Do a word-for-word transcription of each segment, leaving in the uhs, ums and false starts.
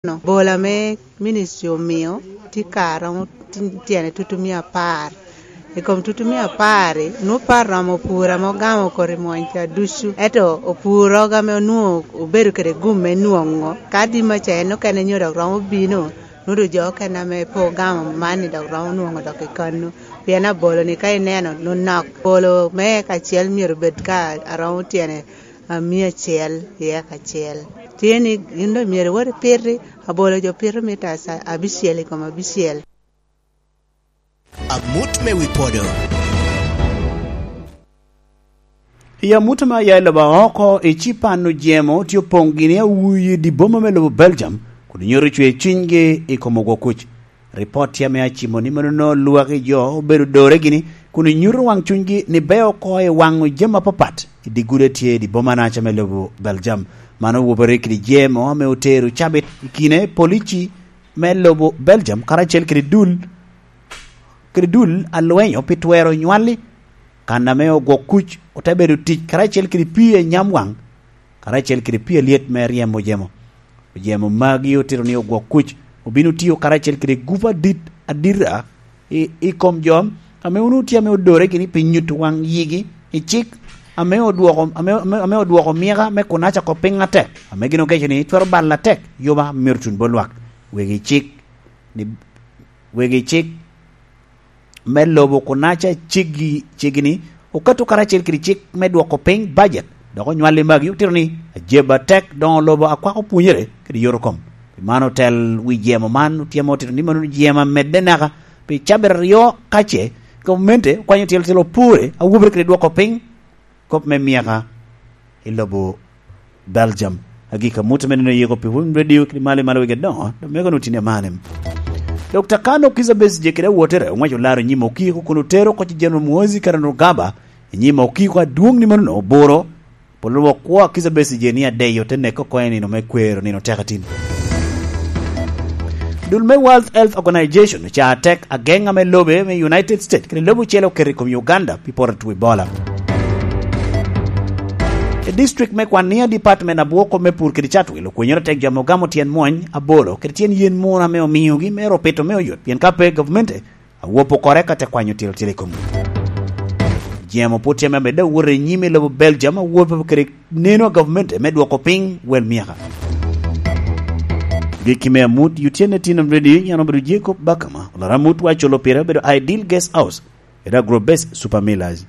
Bolo ame ministry omio tye ka romo tin-, tyene tutumia apar. I kom tutumia apar-ri, nwoŋo pe aromo pur ame ogamo koti mwony ca ducu. Ento opuro ame onwoŋo obedo kede gum me nwoŋo, ka adima ca en okene nyo dok romo bino, nwoŋo doŋ jo okene ame pe ogamo man-ni dok romo nwoŋo dok i kannu. Pien abolo-ni ka ineno, nwoŋo nok. Abolo me eka acel myero obed ka aromo tyene a mia acel i eka acel. Tye ni gin doŋ myero iwot ipiti, abolo jo pito mita aca-, abicel i kom abicel. Amut me wi podo. I amut ame aya i lobo oko, i Cipan ojemo tye opoŋ gini awuyi i dye boma me lobo Belgium, kun nyuto cwer cunygi i kom ogwo kuc. Ripot tye ame acimo ni mano nongo lwak i jo obedo dore gini, kun nyuto waŋ cunygi ni beo oko i waŋo jami apapat i dye gudo a tye i dye boma naca me lobo Belgium. Mano owobere kede jemo ame otero cabit i kine polici me lobo Belgium karacel kede dul, kede dul a lwenyo pi twero nywalli, kan ame ogwok kuc ote bedo tic karacel kede pii a nyam waŋ, karacel kede pii alyet me ryemo jemo. Ojemo magi otito ni ogwok kuc obino tiyo karacel kede gup adit adita i, i kom jo ame onwoŋo tye ame odore gini pi nyuto waŋ yigi i cik ame odwoko, ame, ame, ame odwoko mika me kunaca oko piny atek, ame gin okeco ni twero balo atek yoba myero tun bot lwak. Wegi cik ni, wegi cik me lobo kunaca ceggi, ceggi ni okato karacel kede cik me dwoko piny bajet, dok onywalli magi otito ni ajeb atek doŋo lobo akwako pwonyere kede yot okom. Pi man otel wi jemo man otyemo otito ni mano jemo amedde naka pi cabit aryo ka ce gavumenti okwanyo tyelo tyelo opore awobere kede dwoko piny kop me myaka i lobo Belgium. Agika mut ame nino yiko pi Wun Radio kede malo i malo wegi adoŋo, dok mego nutini amane. Dokta Kano Kizza Besigye kede awotere oŋwaco laro nyim okiko kun otero oko ci General Muhoozi Kainerugaba i nyim okiko adwoŋ ni mano oburo polo wok kwo a Kizza Besigye ni adeyo te nek oko i nino me kwero nino teka tin. Dul me World Health Organization oca tek ageŋ ame lobe me United States kede lobo ocele oketo i kom Uganda pi poto two Ebola. I district me Kwania, department abwoko me pur kede catwil okwenyere tek jo ame ogamo tyen mwony abolo kede tyen yen mura ame omiogi me ro pito me oyot, pien ka pe gavumenti awopo kore ka te kwanyo tilo tilo i komgi. Jemo pwod tye ame amedde awoto i nyim i lobo Belgium, awopo kede neno a gavumenti me dwoko piny wel myaka. Gikki me amut, Yutien Etino Radio, yan obedo Jacob Bakama, olaro amut wa culo pire obedo Ideal Guest House, kede Agrobase Super Millers.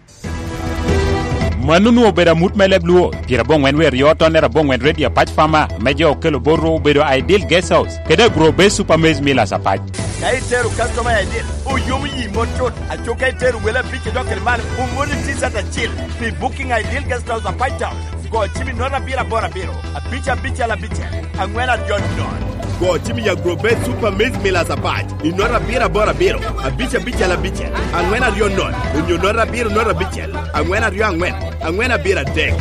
Mano onwoŋo obedo amut me leb Luo, pyerabongwen wie aryo tonnere abongwen Radio Apac Farmer, me jo okelo bot ru obedo Ideal Guest House, kede Agrobase Super Maize Millers Apac. Ka itero customer Ideal, oyomo yi mot cut, aco ka itero wele abic idok kede malo, omoni T-shirt acil pi booking Ideal Guest House Apac Town. Go cim i note abiro aboro abiro, abic abicel abicel, angwen aryo nono. Go cim i Agrobase Super Maize Millers Apac i note abiro aboro abiro, abic abicel abicel, angwen aryo nono, onyo note abiro note abicel, angwen aryo angwen, angwen abiro adek.